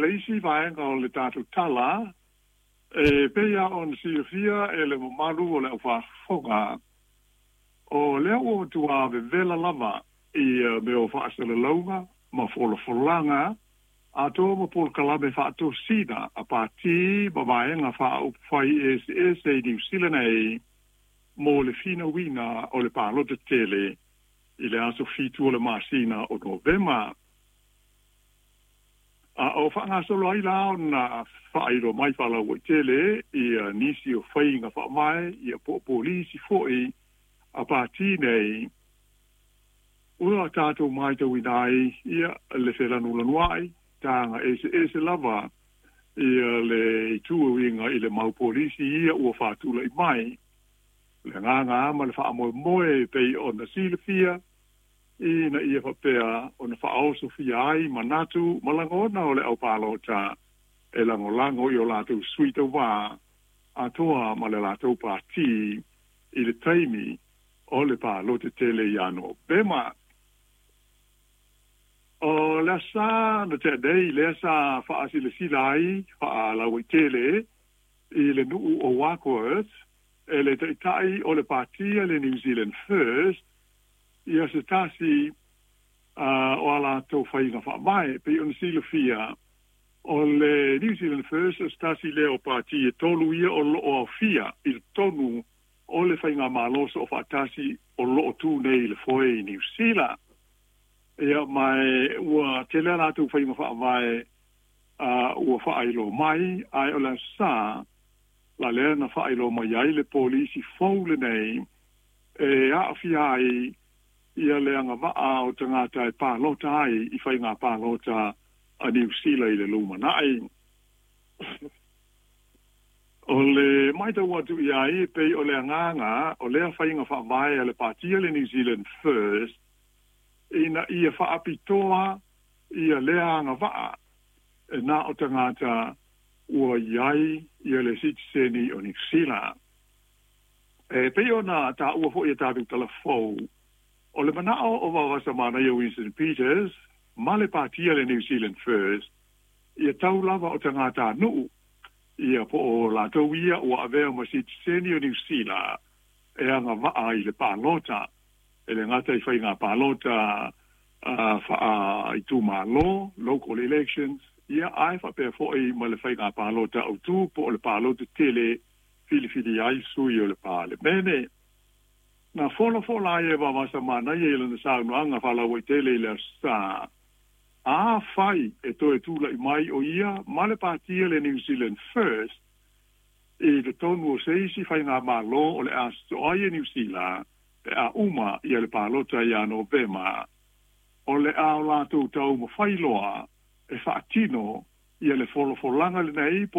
I le isi vaega o le tatou tala, e pei lava ona silafia e le mamalu o le aufaafofoga, o lea ua matua vevela lava i mea o faasalalauga ma folafolaga atoa ma polokalame faatosina a pati ma vaega faaupufai eseese i Niu Sila nei mo le finauina o le palota tele i le aso 7 o le masina o Novema. A o faagasolo ai la ona faailoa mai faalauaitele ia nisi o faiga faavae ia po o polisi foi a pati nei ua tatou matauina ai ia le felanulanuai taga eseese lava ia le itu e uiga i le mau polisi ia ua faatulai mai. Le agaga ma le faamoemoe e pei ona silafia ina ia faapea ona faaosofia ai manatu ma lagona o le aupalota e lagolago i o latou sui tauvā atoa ma le latou pati i le taimi o le palota tele ia Novema. O le asa na tea nei lea sa faasilasila ai faalauaitele i le nuu o Warkworth e le taitai o le patia le New Zealand First ia se tasi o a latou faiga faavae. Pei ona silafia o le New Zealand First o se tasi lea o pati e tolu ia o loo aofia i totonu o le faigamalo soofaatasi o loo tu nei i le foe i Niu Sila. Ia ma ua tele a latou faiga faavae ua faailoa mai, ae o le aso Sa la lea na faailoa mai ai le polisi fou lenei e aafia ai ia le agavaa o tagata e palota ai i faiga palota a Niu Sila i le lumanai. O le matau atu i ai e pei o le agaga o lea faiga faavae a le patia le New Zealand First ina ia faapitoa ia lea agavaa e na o tagata ua i ai ia le sitiseni o Niu Sila. E pei ona taua foi e tatou talafou, o le manao o Vaovasamanaia Winston Peters ma le patia le New Zealand First, ia tau lava o tagatanuu ia po o latou ia ua avea ma sitiseni o Niu Sila e agavaa i le palota, e le gata i faiga palota faaitumalo, local elections, ia ae faapea foi ma le faiga palota autū po o le palota tele filifili ai sui o le Palemene. Na folafola ai e Vaovasamanaia i lana saunoaga faalauaitele i le aso Sa, afai e toe tulai mai o ia ma le patia le New Zealand First i totonu o se isi faigamalo o le a sosoo ai e Niu Sila pe a uma ia le palota ia Novema, o le a o latou taumafai loa e faatino ia le folafolaga lenei po